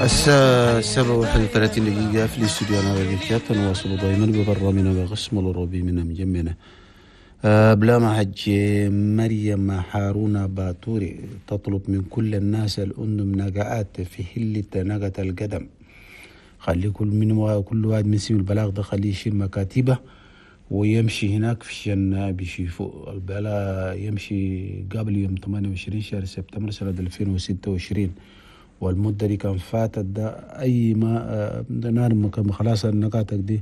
الساعة 7:31 في الاستوديو أنا راديو، نواصل دائما ببرنامجنا بقسم الأوروبي من مجمنا. بلا ما حج مريم هارون باتوري تطلب من كل الناس الأندم نقعات في هلة نقة القدم، خلي كل من كل واحد من سيم البلاغ ده خليه يشيل مكاتبه ويمشي هناك في الشن بيشوفوا البلاء، يمشي قبل يوم 28 شهر سبتمبر سنة 2026، والمدة دي كان فاتت ده أي ما نار خلاص النقاطك دي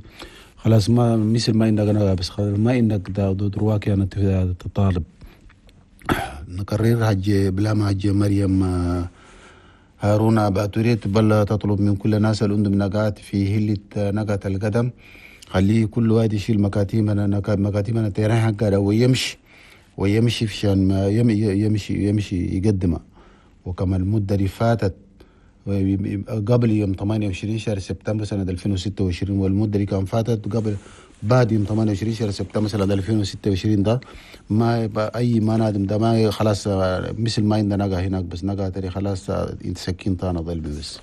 خلاص ما مثل ما إنك أنا بس خلاص ما إنك ده درواك يعني تطالب. نكرر حج بلا ما حج مريم هارون باتوري بل تطلب من كل الناس الأندم نقات في هلة نقات القدم، خليه كل واحد يشيل مكاتيمنا تيران حقه ويمشي في ما يمشي يقدمه. وكما المدة اللي فاتت قبل يوم 28 شهر سبتمبر سنة 2026، والمدة اللي كان فاتت قبل بعد يوم 28 شهر سبتمبر سنة 2026 ده ما أي ما نادم ده ما خلاص مثل ما عندنا نقا هناك بس نقا تري خلاص انت سكين تانا ظل بس.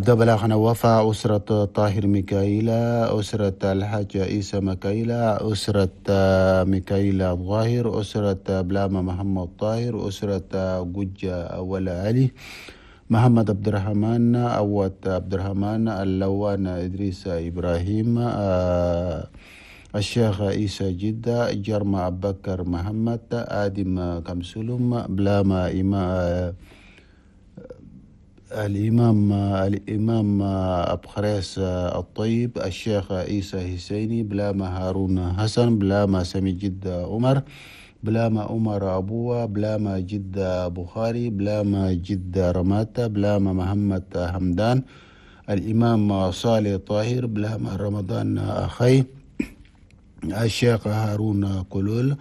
ده بلاغنا وفاء أسرة طاهر ميكائيلا، أسرة الحاج عيسى ميكائيلا، أسرة ميكائيلا الظاهر، أسرة بلاما محمد طاهر، أسرة جوجة أول علي، محمد عبد الرحمن أوت عبد الرحمن، اللوان إدريس إبراهيم، الشيخ عيسى جدة، جرما أبو بكر محمد، آدم كمسلم، بلاما إمام الإمام أبو خريس الطيب، الشيخ عيسى حسيني، بلاما هارون حسن، بلاما سمي جدة عمر، بلاما عمر أبوه، بلاما جدة بخاري، بلاما جدة رماتة، بلاما محمد حمدان، الإمام صالح طاهر، بلاما رمضان أخي، الشيخ هارون كلول،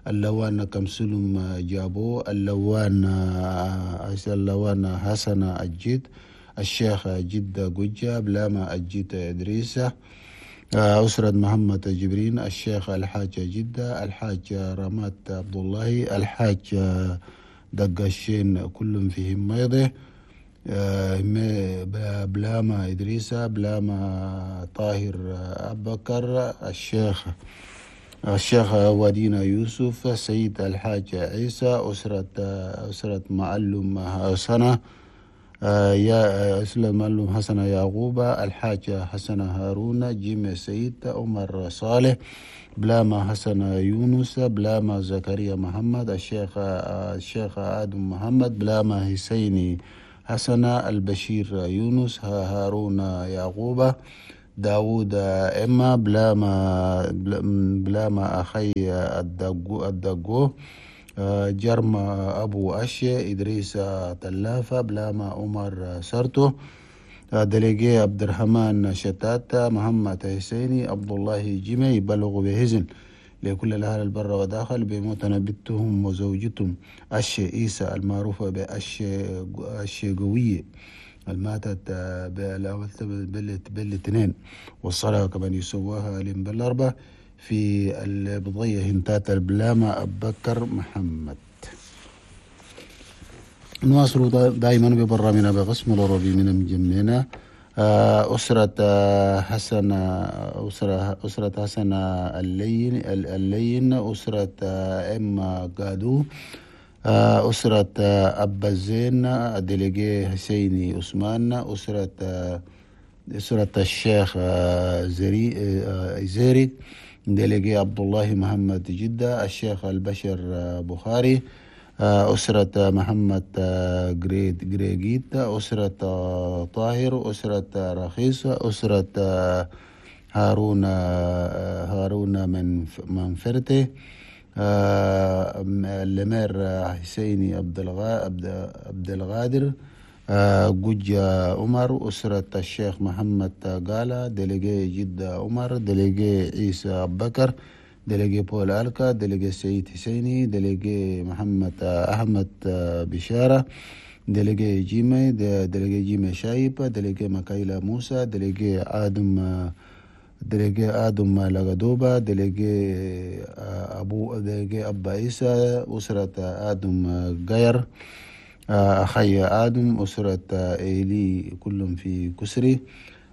اللوان كمسلم جابو، اللوان حسن الجد، الشيخ جدة جوجة، بلاما الجد إدريسة، أسرة محمد جبرين، الشيخ الحاج جدة، الحاج رمات عبد الله، الحاج دقشين كلهم فيهم ميضة، بلاما إدريسة، بلاما طاهر أبكر، الشيخ ودينا يوسف، سيد الحاج عيسى، أسرة معلم حسنة، يا أسرة معلم حسن يعقوب، الحاج حسن هارون، جيم سيد، عمر صالح، بلاما حسن يونس، بلاما زكريا محمد، الشيخ آدم محمد، بلاما حسيني حسن، البشير يونس، هارون يعقوب، داود إما، بلاما أخي الدقو، جرما أبو أشي، إدريس تلافة، بلاما عمر سرتو، دليجي عبد الرحمن شتات، محمد حسيني، عبد الله جيمي. بلغوا بهزن لكل الأهل البر وداخل بموتنا بنتهم وزوجتهم أشي إيسى المعروفة بأشي قوية الماتت بالاثنين، والصلاة كمان يسواها بالأربعة في البضية هنتات البلامة أبو بكر محمد. نواصل دائما ببرنامجنا بقسم الأوروبي من مجمعنا. أسرة حسن، أسرة حسن اللين، أسرة إما قادو، أسرة أبا الزين، ديليجي حسيني عثمان، أسرة الشيخ زيري، ديليجي عبد الله محمد جدة، الشيخ البشر بخاري، أسرة محمد جريجيت، أسرة طاهر، أسرة رخيص، أسرة هارون منفرته، الأمير حسيني عبد الغادر، جوجة عمر، أسرة الشيخ محمد قالة، délégué جدة عمر، délégué عيسى أبو بكر، délégué بول ألكا، délégué سيد حسيني، délégué محمد أحمد بشارة، délégué جيمي، délégué جيمي شايب، délégué مكايلا موسى، délégué آدم لغدوبة، délégué أبو، délégué أبا عيسى، أسرة آدم غير، أخي آدم، أسرة إيلي كلهم في كسري،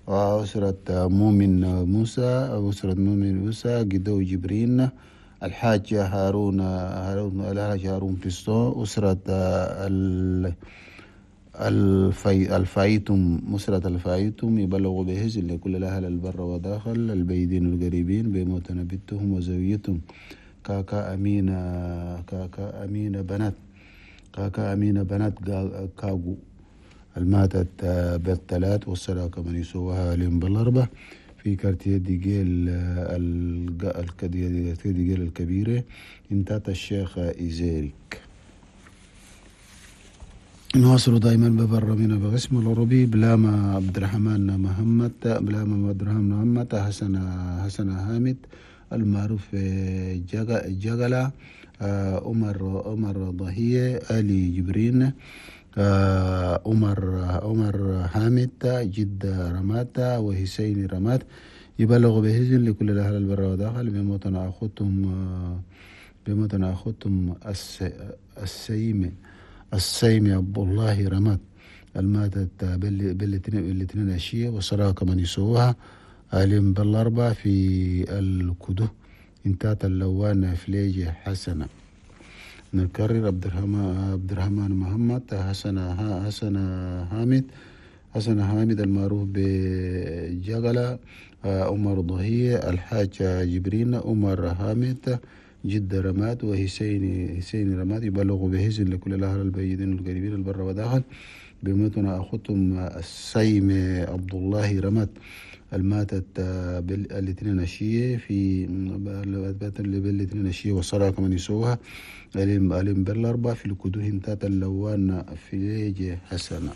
وأسرة مؤمن موسى، أسرة مؤمن موسى جدو جبرين، الحاج هارون، الحاج هارون فيستو، أسرة الفايتم، أسرة الفايتم يبلغوا بهزل لكل الأهل البر وداخل البيدين القريبين بموت بنتهم وزوجتهم كاكا أمينة، كاكا أمينة بنات، كاكا أمينة بنات كاغو الماتت بالثلاث والصلاة كمان يسووها لهم بالأربع في كارتيه ديجيل ديجيل الكبيرة انتات الشيخ إيزيريك. نواصل دائما ببرامجنا بقسم العربي. بلاما عبد الرحمن محمد، بلاما عبد الرحمن محمد، حسن حامد المعروف جغلا، عمر ضهية، علي جبرين، عمر حامد، جد رمات، وحسين رمات يبلغ بهزن لكل الأهل البر وداخل بموتنا أخوتهم السيم عبد الله رمات الماتت بالاثنين عشية والصلاة كمان يسووها علم بالأربعة في الكدو انتات اللوان فليجة حسنة. نكرر عبد الرحمن محمد، حسن حامد، حسن حامد المعروف بجغلة، عمر ضهية، الحاج جبرين، عمر حامد، جد رماد، وحسين رماد يبلغ بهزن لكل الأهل البيدين القريبين البر وداخل بموتنا أخوتهم السيم عبد الله رماد الماتت بالاثنين عشية في بالاثنين عشية والصلاة كمان يسوها ألم بالأربعة في الكدوه تات اللوان في حسنة.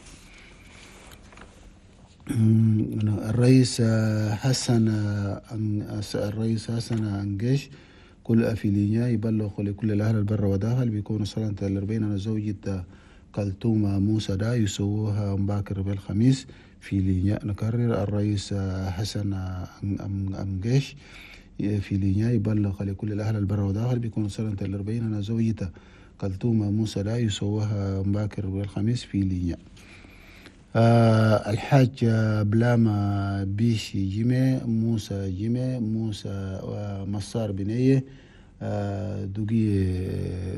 الرئيس حسن أنجش كل أفيلينيا يبلغ لكل الأهل البر وداخل بيكون صلاة الأربعين أنا زوجة كلثوم موسى دا يسووها مباكر بالخميس في لينيا. نكرر الرئيس حسن أمجيش في لينيا يبلغ لكل الأهل البر وداخل بيكون صلاة الأربعين أنا زوجة كلثوم موسى دا يسووها مباكر بالخميس في لينيا. الحاج بلاما بيشي جيمي، موسى جيمي، موسى مسار بنية،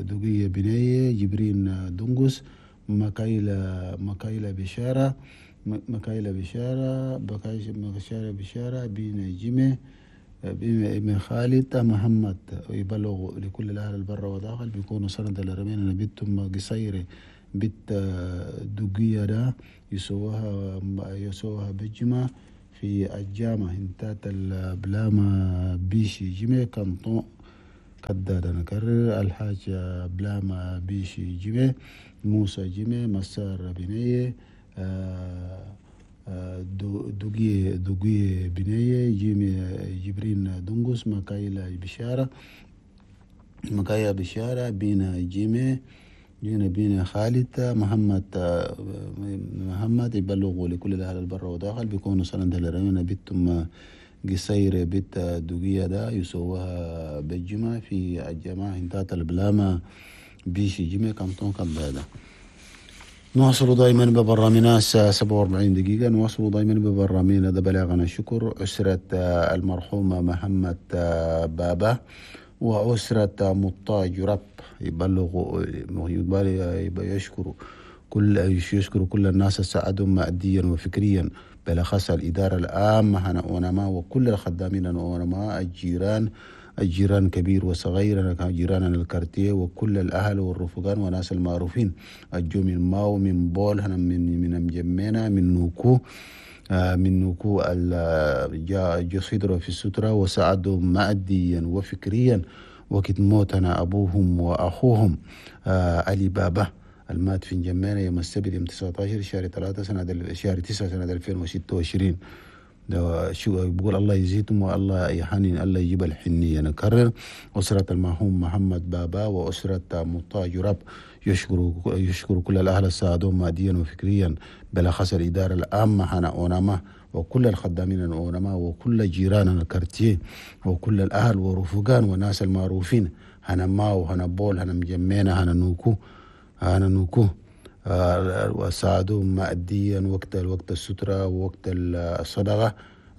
دوقية بنية، جبرين دنقس، مكايلة بشارة، مكايلة بشارة، بشارة بشارة، بين جيمي، بن خالد محمد يبلغ لكل الأهل البر وداخل بيكونوا سنة الأربعين نبيتهم قصيرة بيت دوقية دا يسوها بجمع في الجامعة انتات البلاما بيشي جيمي كانتون كدادا. نكرر الحاج بلاما بيشي جيمي، موسى جيمي، مسار بنية، دوقية بنية، جيمي جبرين دنقس، مكايلة بشارة، مكايا بشارة، بينا جيمي، جينا بينا خالد محمد يبلغوا لكل الأهل البر وداخل بيكونوا سنة الرمينا بيتهم قصيرة بيت دوقية دا يسووها بالجمعة في الجماعة انتات البلامة بيشي جيمي كامتون كبادة. نواصل دائما ببرامجنا الساعة 47 دقيقة. نواصل دائما ببرامجنا ده بلاغنا الشكر أسرة المرحومة محمد بابا وأسرة مطاج رب يبلغ يشكر كل الناس ساعدهم ماديا وفكريا بالأخص الإدارة العامة هنا أونما وكل الخدامين أونما، الجيران كبير وصغير، جيراننا الكارتيه وكل الأهل والرفقان وناس المعروفين الجو من ماو من بول هنا من مجمينا من نوكو، من نوكو الجسيدر في السترة وساعدهم ماديا وفكريا وقت موتنا أبوهم وأخوهم علي بابا المات في جمانة يوم السبت يوم 19 شهر 3 سنة شهر 9 سنة 2026. شو بقول الله يزيدهم والله يحنن الله يجيب الحنية. نكرر أسرة المرحوم محمد بابا وأسرة مطاج رب يشكر كل الأهل الساعدون ماديا وفكريا بالأخص الإدارة العامة هنا أونما وكل الخدامين أونما وكل جيراننا الكارتيه وكل الأهل ورفقان وناس المعروفين هنا ماو هنا بول هنا مجمينا هنا نوكو هنا نوكو. وساعدوهم ماديا وقت السترة ووقت الصدقة،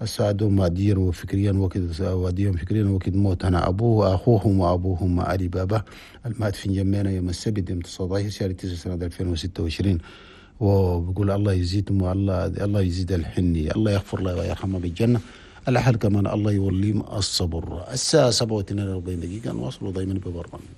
ساعدوهم ماديا وفكريا وقت وديهم فكريا وقت موت. أنا أبوه أخوهم وأبوهم علي بابا المات في جمينا يوم السبت يوم 19 شهر 9 سنة 2026. وبقول الله يزيدهم، والله الله يزيد الحنية، الله يغفر له ويرحمه بالجنة. الأهل كمان الله يوليهم الصبر. الساعة 7:42 نواصلوا دايما ببرنامج.